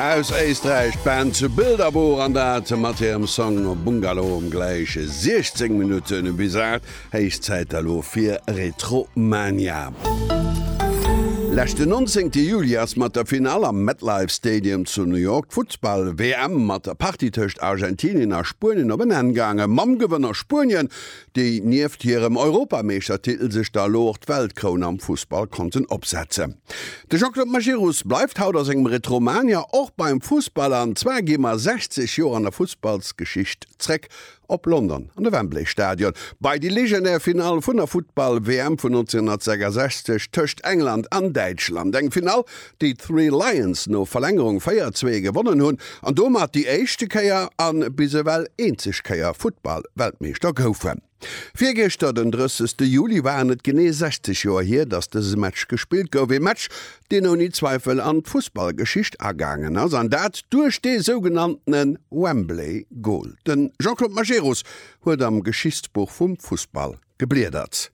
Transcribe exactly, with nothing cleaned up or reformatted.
Aus Éisträich d'Band Bilderbuch an dat mat hirem Song Bungalow um gläich siechzéng Minutte bis aacht. Héich Zäit elo fir Retromania. Leschten nonzéngte Juli ass mat der Finall am MetLife Stadium zu New York d'Futtball-W M mat der Partie tëscht Argentinien a Spuenien op en Enn gaangen. Mam Gewënner Spuenien, déi nieft hirem Europameeschtertitel sech da elo och d'Weltkroun am Fussball konnten opsetzen. De Jean-Claude Majerus bleift haut a sengem Retromania och beim Fussball an zwar gi mer sechzeg Joer an der Fussballsgeschicht zréck op London an de Wembley Stadion bei déi legendär Finall vun der Futtball-W M vun nonzénghonnertsechsasechzeg tëscht England an Däitschland. Eng Finall, déi d'Three Lions no Verlängerung véier, zwee gewonnen hunn an domat déi éischte Kéier a bis ewell eenzeg Kéier Futtball-Weltmeeschter goufen. Virgëschter, den drëssegste Juli, waren et genee sechzeg Joer hier, datt dëse Match gespillt gouf. Ee Match, deen ouni Zweifel an d'Fussballgeschicht agaangen ass, an dat duerch dee sougenanntene Wembley Goal. De Jean-Claude Majerus huet am Geschichtsbuch vum Fussball gebliedert.